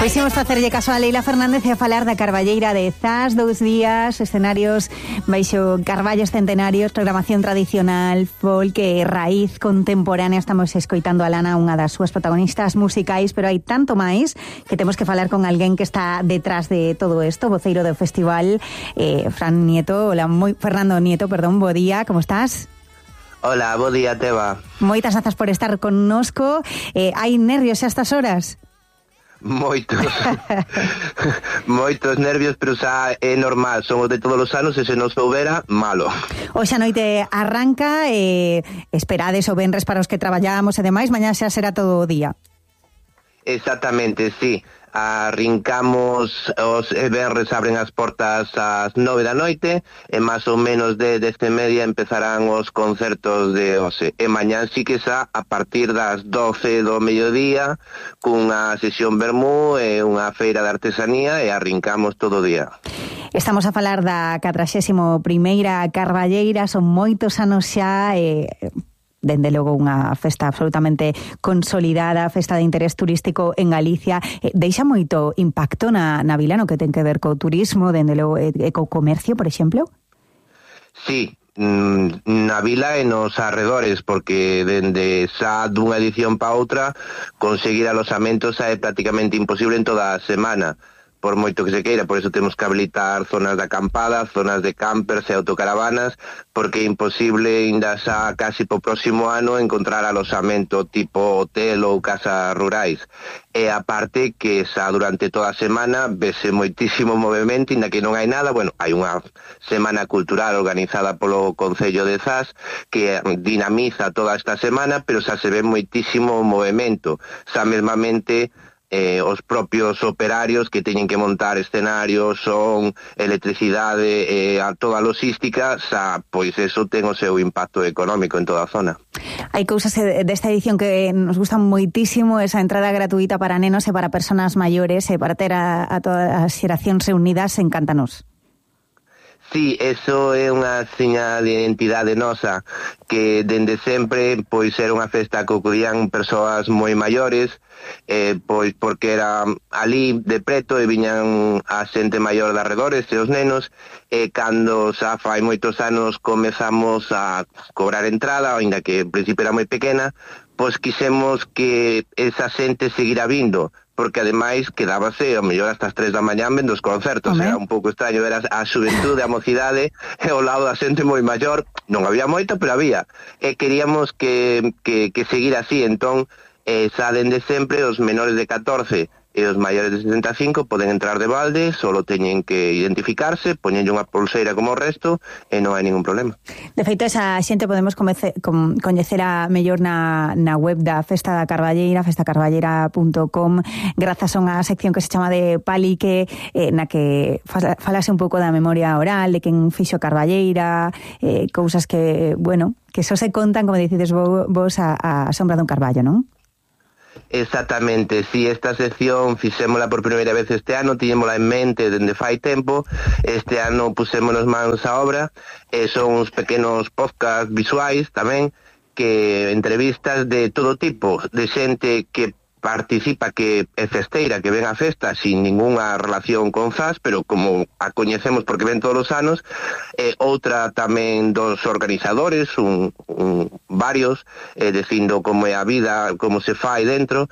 Pois imos facerlle caso a Leila Fernández e a falar da Carballeira de Zas, 2 días, escenarios baixo carballos centenarios, programación tradicional, folk e raíz contemporánea. Estamos escoitando a Lana, unha das súas protagonistas musicais, pero hai tanto máis que temos que falar con alguén que está detrás de todo isto, voceiro do festival, Fernando Nieto, bo día, como estás? Hola, bo día, Teba. Moitas grazas por estar connosco. Hai nervios a estas horas? Moitos nervios, pero xa é normal, somos de todos os anos e se non soubera, malo. Hoxe a noite arranca, esperades o venres para os que traballamos e demais, mañá xa será todo o día. Exactamente, sí. Arrincamos os venres, abren as portas ás 9 da noite e máis ou menos de 10:30 empezarán os concertos de hoxe. E mañán sí que xa a partir das 12 do mediodía cunha sesión vermú e unha feira de artesanía e arrincamos todo o día. Estamos a falar da 41ª Carballeira, son moitos anos xa dende logo unha festa absolutamente consolidada, festa de interés turístico en Galicia. Deixa moito impacto na vila no que ten que ver co turismo, dende logo co comercio, por exemplo? Sí, na vila e nos arredores, porque dende xa dunha edición pa outra conseguir alosamentos é prácticamente imposible en toda a semana, por moito que se queira. Por eso temos que habilitar zonas de acampada, zonas de campers e autocaravanas, porque é imposible ainda xa casi po próximo ano encontrar alosamento tipo hotel ou casas rurais. E aparte que xa durante toda a semana vese moitísimo movimento, ainda que non hai nada. Bueno, hai unha semana cultural organizada polo Concello de Zas que dinamiza toda esta semana, pero xa se ve moitísimo movimento. Xa mesmamente os propios operarios que teñen que montar escenarios, son, electricidade e toda a logística, xa, pois eso ten o seu impacto económico en toda a zona. Hai cousas desta edición que nos gustan moitísimo, esa entrada gratuita para nenos e para persoas maiores e para ter a todas as xeracións reunidas, encántanos. Sí, eso é unha seña de identidade nosa, que dende sempre pois era unha festa que acudían persoas moi maiores, pois porque era ali de preto e viñan a xente maior de arredores e os nenos, e cando xa fai moitos anos comezamos a cobrar entrada, ainda que en principio era moi pequena, pois quixemos que esa xente seguira vindo, porque ademais quedábase ao mellor hasta as 3 da mañá vendo os concertos. Era un pouco extraño ver a xuventude, a mocidade e ao lado da xente moi maior. Non había moito, pero había, e queríamos que seguir así. Entón, xa dende sempre os menores de 14 e os maiores de 75 poden entrar de balde, solo teñen que identificarse, poñenlle unha pulseira como o resto e non hai ningún problema. De feito, esa xente podemos coñecer a mellor na web da Festa da Carballeira, festacarballeira.com, grazas a unha sección que se chama de Palique, na que falase un pouco da memoria oral, de quen fixo Carballeira, cousas que, bueno, que só se contan, como dicides vos, a sombra dun carballo, non? Exactamente, si esta sección fixémola por primeira vez este ano, tiñémola en mente dende fai tempo, este ano pusémonos mans á obra, son uns pequenos podcast visuais tamén, que entrevistas de todo tipo, de xente que participa, que é festeira, que ven a festa sin ningunha relación con Zas, pero como a coñecemos porque ven todos os anos, outra tamén dos organizadores, varios, dicindo como é a vida, como se fai dentro,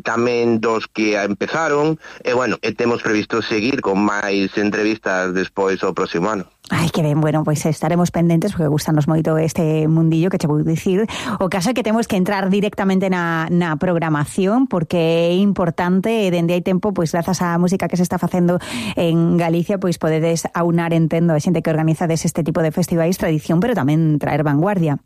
tamén dos que empezaron, e bueno, temos previsto seguir con máis entrevistas despois o próximo ano. Ai, que ben, bueno, pois estaremos pendentes porque gustanos moito este mundillo que che vou dicir. O caso é que temos que entrar directamente na programación porque é importante, dende hai tempo, pois grazas á música que se está facendo en Galicia, pois podedes aunar, entendo, a xente que organizades este tipo de festivais, tradición, pero tamén traer vanguardia.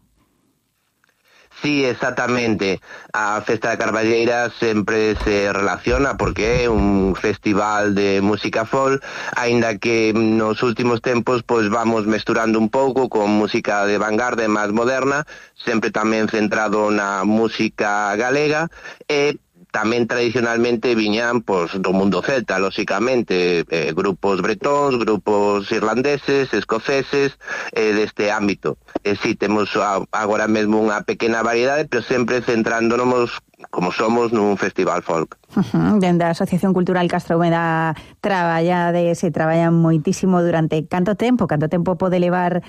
Sí, exactamente. A Festa da Carballeira sempre se relaciona porque é un festival de música folk, aínda que nos últimos tempos pois vamos mesturando un pouco con música de vanguardia máis moderna, sempre tamén centrado na música galega, e tamén tradicionalmente viñan pois do mundo celta, lóxicamente, grupos bretóns, grupos irlandeses, escoceses, deste ámbito. Si temos agora mesmo unha pequena variedade, pero sempre centrándonos como somos nun festival folk. Dende a Asociación Cultural Castromeda se traballan moitísimo durante canto tempo pode levar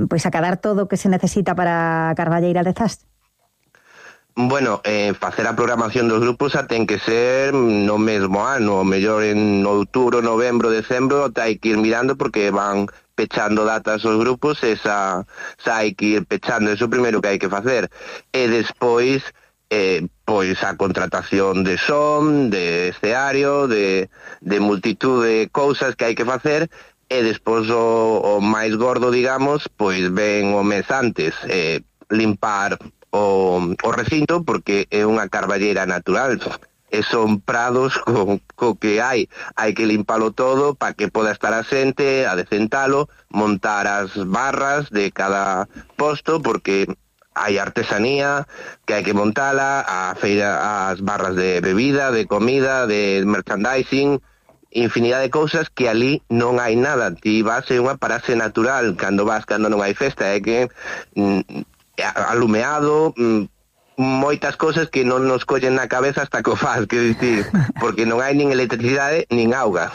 pois a cadar todo o que se necesita para a Carballeira de Zas? Bueno, facer a programación dos grupos ten que ser no mesmo ano, o mellor en outubro, novembro, decembro, hai que ir mirando porque van pechando datas os grupos e xa hai que ir pechando, eso primeiro que hai que facer. E despois, pois a contratación de son, de escenario, de multitud de cousas que hai que facer, e despois o máis gordo, digamos, pois ven o mes antes, limpar o recinto, porque é unha carballeira natural e son prados co que hai que limpalo todo para que poda estar a xente, adecentalo, montar as barras de cada posto, porque hai artesanía que hai que montala, a feira, as barras de bebida, de comida, de merchandising, infinidade de cousas que ali non hai nada. Ti vas en unha parase natural cando non hai festa, é que alumeado, moitas cousas que non nos collen na cabeza hasta que o faz, quero dicir, porque non hai nin electricidade nin auga.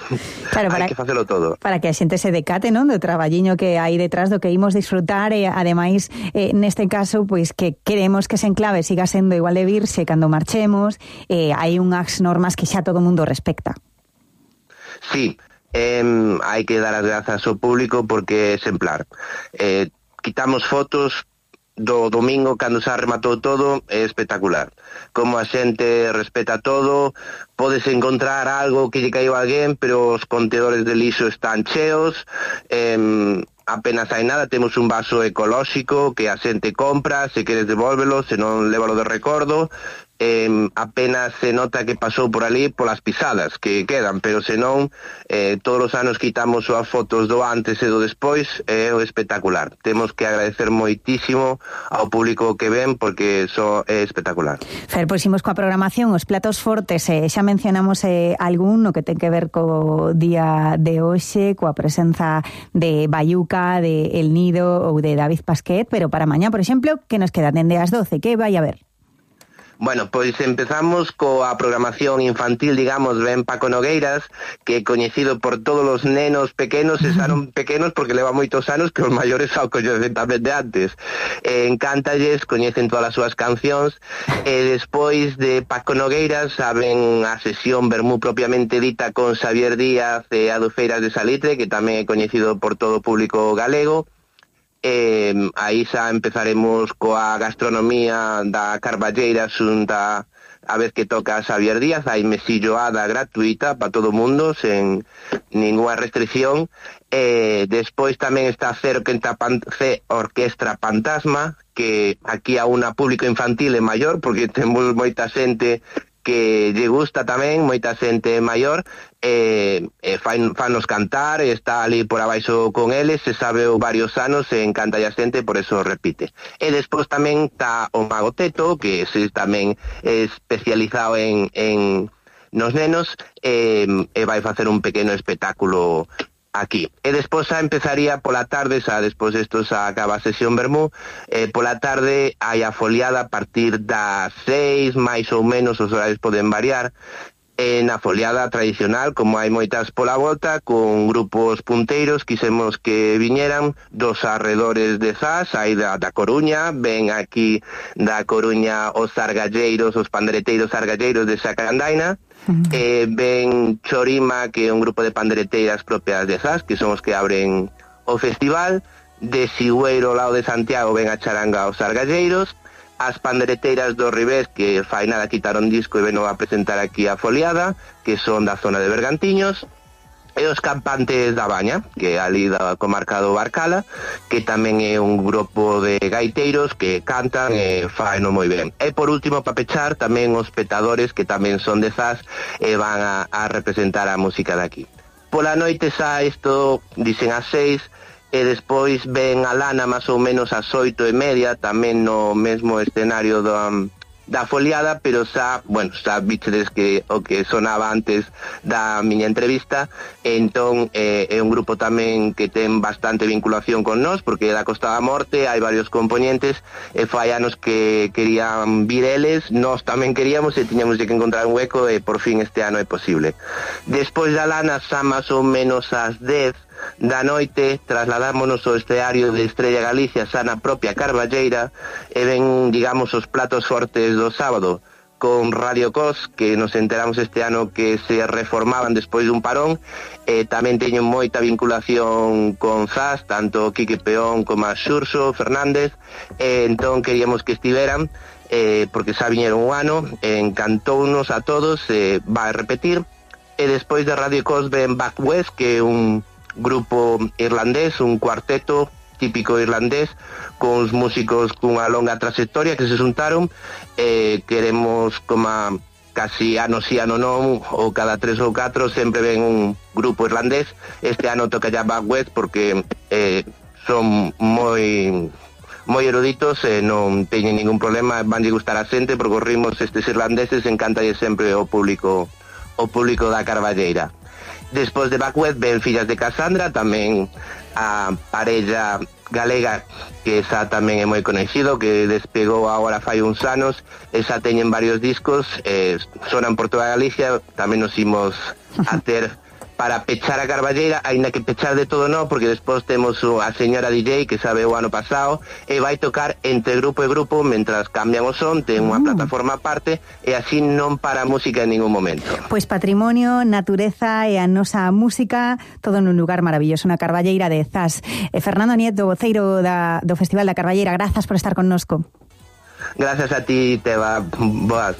Claro, hai que facelo todo. Para que a xente se decate, non, do traballiño que hai detrás do que imos disfrutar, e ademais, neste caso, pois que queremos que ese enclave siga sendo igual de virxe cando marchemos, hai unhas normas que xa todo o mundo respecta. Sí, hai que dar as grazas ao público porque é exemplar. Quitamos fotos do domingo cando xa rematou todo, é espectacular. Como a xente respeta todo, podes encontrar algo que lle caiu a alguén, pero os contedores de lixo están cheos, apenas hai nada, temos un vaso ecolóxico que a xente compra, se queres devólvelo, se non lévalo de recordo, apenas se nota que pasou por ali polas pisadas que quedan, pero senón todos os anos quitamos as fotos do antes e do despois, é espectacular. Temos que agradecer moitísimo ao público que ven porque eso é espectacular. Fer, pois imos coa programación, os platos fortes, xa mencionamos algún no que ten que ver co día de hoxe, coa presenza de Bayuca, de El Nido ou de David Pasquet, pero para mañá, por exemplo, que nos queda dende as 12, que vai a ver? Bueno, pois empezamos coa programación infantil, digamos, ben Paco Nogueiras, que é coñecido por todos os nenos pequenos, e saron pequenos porque leva moitos anos que os maiores ao coñecen tamén de antes. Encántalles, coñecen todas as súas cancións, e despois de Paco Nogueiras saben a sesión vermú propiamente dita con Xavier Díaz e Adufeiras de Salitre, que tamén é coñecido por todo o público galego. Aí xa empezaremos coa gastronomía da Carballeira xunta a vez que toca Xavier Díaz, hai mesilloada gratuita para todo o mundo sen ninguna restricción. Despois tamén está C Orquestra Fantasma, que aquí a unha público infantil e maior, porque temos moita xente que lle gusta tamén, moita xente maior, fanos cantar, está ali por abaixo con eles, se sabe varios anos, e encanta a xente, por eso repite. E despois tamén está o Mago Teto, que ese tamén é especializado en nos nenos, e vai facer un pequeno espectáculo aquí. E despois xa empezaría pola tarde, xa despois isto xa acaba a sesión vermú, pola tarde hai a foliada a partir das 6, máis ou menos, os horarios poden variar, na foliada tradicional, como hai moitas pola volta, con grupos punteiros, quisemos que viñeran dos arredores de Zas, aí da Coruña, ven aquí da Coruña os argalleiros, os pandereteiros argalleiros de Sacarandaina, ven Chorima, que é un grupo de pandereteiras propias de Zas, que son os que abren o festival, de Sigüeiro, ao lado de Santiago, ven a charanga os argalleiros, as pandereteiras do Ribés, que fai nada quitaron disco e veno a presentar aquí a foliada, que son da zona de Bergantiños, e os Campantes da Baña, que é ali da comarca do Barcala, que tamén é un grupo de gaiteiros que cantan e faino moi ben. E por último, para pechar, tamén os Petadores, que tamén son de Zas e van a representar a música daqui. Pola noite xa isto dicen as 6, e despois ven a Lana máis ou menos ás 8:30, tamén no mesmo escenario da foliada, pero xa vistedes que o que sonaba antes da miña entrevista, entón é un grupo tamén que ten bastante vinculación con nós, porque é da Costa da Morte, hai varios componentes, e fai anos que querían vir eles, nós tamén queríamos e tiñamos que encontrar un hueco, e por fin este ano é posible. Despois da Lana, xa máis ou menos ás 10 da noite, trasladámonos ao escenario de Estrella Galicia, xa na propia Carballeira, e ven, digamos, os platos fortes do sábado, con Radio Cos, que nos enteramos este ano que se reformaban despois dun parón, e tamén teñen moita vinculación con Zas, tanto Quique Peón como a Xurxo Fernández, e entón queríamos que estiveran, porque xa viñeron un ano, encantounos a todos, vai repetir, e despois de Radio Cos ven Back West, que é un grupo irlandés, un cuarteto típico irlandés, con os músicos cunha longa trayectoria que se xuntaron, queremos como casi ano sí ano non, ou cada 3 ou 4 sempre ven un grupo irlandés. Este ano toca ya Back West porque son moi eruditos e non teñen ningún problema, vanlle gustar a xente porque os ritmos estes irlandeses encantalle sempre o público da Carballeira. Despois de Back West ven Fillas de Casandra, tamén a parella galega que esa tamén é moi conhecido, que despegou agora fai uns anos, esa teñen varios discos, sonan por toda Galicia, tamén nos imos a ter para pechar a Carballeira, aínda que pechar de todo non, porque despois temos a señora DJ que sabe o ano pasado e vai tocar entre grupo e grupo mentras cambian o son, ten unha plataforma aparte e así non para a música en ningún momento. Pois patrimonio, natureza e a nosa música, todo nun lugar maravilloso, na Carballeira de Zas. Fernando Nieto, voceiro do Festival da Carballeira, grazas por estar connosco. Gracias a ti, Teba. Boas.